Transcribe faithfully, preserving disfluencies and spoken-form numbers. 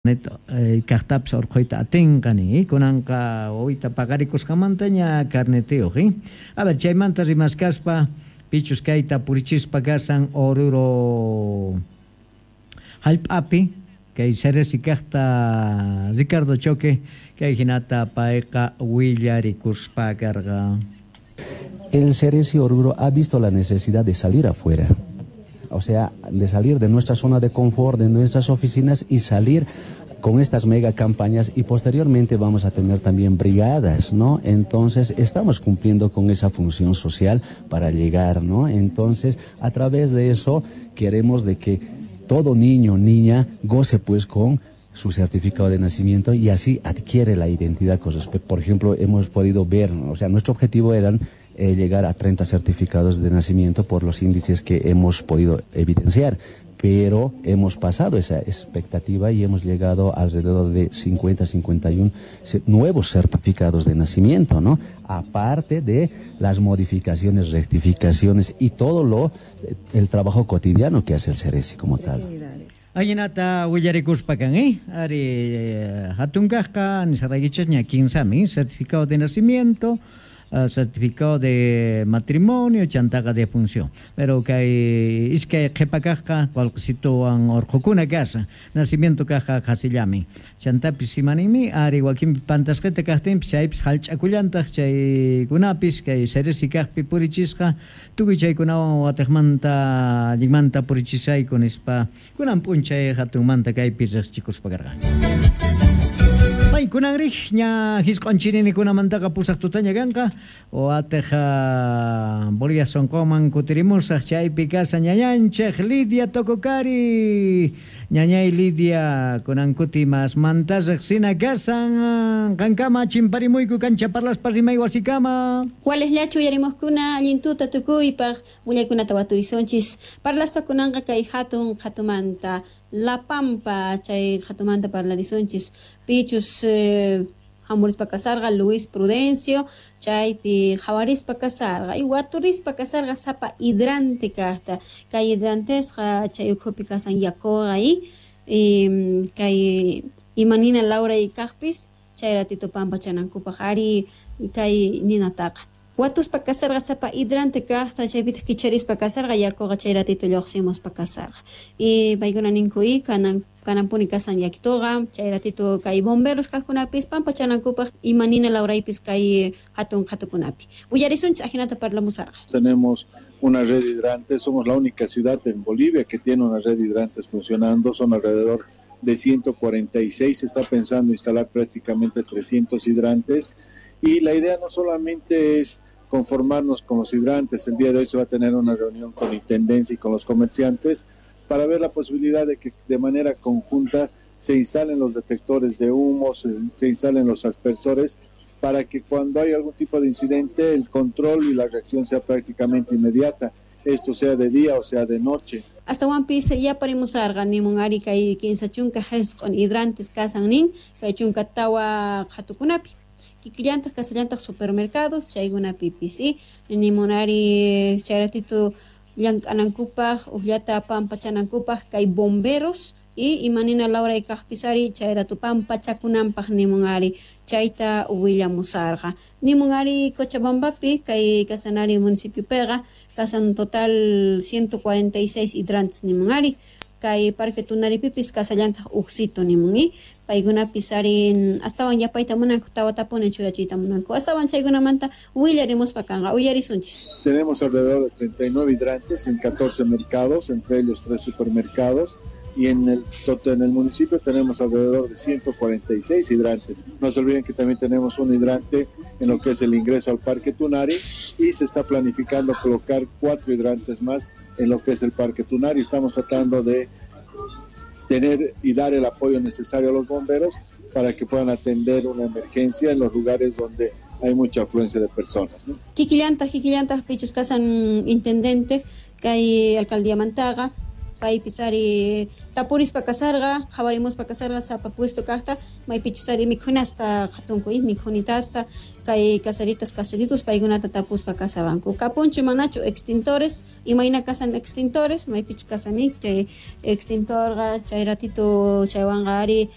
Kaqtapis urquyta atinqa nin, kunanqa wawita paqarikusqamantaña carnetiyuq. A ver, chaymanta rimaskaspa pichus kayta purichispa kasan Oruro hallp'api kay Ceresi kaqta Ricardo Choque kay hinata payqa willarikuspa karqa. El Ceresi Oruro ha visto la necesidad de salir afuera, o sea, de salir de nuestra zona de confort, de nuestras oficinas y salir con estas mega campañas, y posteriormente vamos a tener también brigadas, ¿no? Entonces estamos cumpliendo con esa función social para llegar, ¿no? Entonces, a través de eso queremos de que todo niño, niña goce pues con su certificado de nacimiento y así adquiere la identidad con respecto. Por ejemplo, hemos podido ver, o sea, nuestro objetivo eran eh, llegar a treinta certificados de nacimiento por los índices que hemos podido evidenciar, pero hemos pasado esa expectativa y hemos llegado alrededor de cincuenta, cincuenta y uno nuevos certificados de nacimiento, ¿no? Aparte de las modificaciones, rectificaciones y todo lo, el trabajo cotidiano que hace el Ceresi como tal. Ahinata willarikuspa kan, eh? Ari hatun kaqqa nisaraykichis ña kinsami, certificado de nacimiento, Uh, certificado de matrimonio, chantaqa de función. Pero kay iskay qhipa kaqqa qullqisituwan urqukuna kasa, nacimiento kaqqa qhasillami. Chantapis imaninmi ari wakinpi pantasqita kaqtinpis chaypis hallch'akullantaq chaykunapis kay Ceresi kaqpi purichisqa tukuy chaykunawan watiqmanta allinmanta purichisayku nispa kunan p'unchay hatunmanta kaypi riqsichikuspa karqa. Kunan rij ña hisq'onchirinikunamantaqa pusaq tutaña kanqa watiq Bolivia sonqoman kutirimusaq chaypi kasa ñañanchik Lidia Tococari. Ñañay Lidia kunan kuti masmanta riqsina kasan qankama chimparimuyku kancha parlaspa rimay wasikama. Walisllachu uyarimuqkuna allintuta tukuypaq willaykunata waturisonchis parlaspa kunanqa kay hatun hatumanta La Pampa chay hatumanta parlarisunchis pichus eh, hamurispa kasarqa Luis Prudencio chaypi hawarispa kasarqa y waturispa kasarqa sapa hidrante kaqta kay hidrantesqa chay ukhupi kasan yakuqa y kay imanina Laura y kaqpis chay ratito pampachanankupaq ari kay ninataqa watuspa kasarqa sapa hidrante kaqta chaypitaq kicharispa kasarqa yakuqa chay ratito lluqsimuspa kasarqa y paykuna ninku y kanan kananpuni kasan yakituqa chay ratito kay bomberos kaqkunapis pampachanankupaq imanina Lauraypis kay hatun hatukunapi willarisunchis ajinata parlamusarqa. Tenemos una red de hidrantes, somos la única ciudad en Bolivia que tiene una red de hidrantes funcionando, son alrededor de ciento cuarenta y seis, se está pensando instalar prácticamente trescientos hidrantes y la idea no solamente es conformarnos con los hidrantes, el día de hoy se va a tener una reunión con Intendencia y con los comerciantes para ver la posibilidad de que de manera conjunta se instalen los detectores de humo, se, se instalen los aspersores, para que cuando hay algún tipo de incidente el control y la reacción sea prácticamente inmediata, esto sea de día o sea de noche. Hasta Piece ya parimusarqa nimun ari kay kinsa chunka hisq'un hidrantes kasan nin kay chunka tawa qhatukunapi kikillantaq kasallantaq supermercados chaykunapipis y nimunari chay ratito llank'anankupaq uqllata pampachanankupaq kay bomberos y imanina Laura y kaqpis ari chay rato pampachakunanpaq nimun ari chayta willamusarqa nimun ari Cochabambapi kay kasanari municipiopiqa kasan total ciento cuarenta y seis hidrantes nimun ari kay Parque Tunaripipis kasallantaq uqsito nimun y paykunapis ari astawan yapayta munanku tawatapuni churachiyta munanku astawan chaykunamanta willarimuspa kanqa uyarisunchis. Tenemos alrededor de treinta y nueve hidrantes en catorce mercados, entre ellos tres supermercados, y en el, en el municipio tenemos alrededor de ciento cuarenta y seis hidrantes. No se olviden que también tenemos un hidrante en lo que es el ingreso al Parque Tunari y se está planificando colocar cuatro hidrantes más en lo que es el Parque Tunari. Estamos tratando de tener y dar el apoyo necesario a los bomberos para que puedan atender una emergencia en los lugares donde hay mucha afluencia de personas, ¿no? Kikillantaq, kikillantaq pichus kasan intendente kay alcaldía Mantaga Paypis ari tapurispa kasarqa, qhawarimuspa kasarqa sapa puesto kaqta, maypichus ari mikhunasta qhatunku, mikhunitasta, kay caseritas caseritos paykunata tapuspa kasarqanku. Kapunchu manachu extintores, imayna kasan extintores, maypichus kasani chay extintorqa chay ratito chaywanqa ari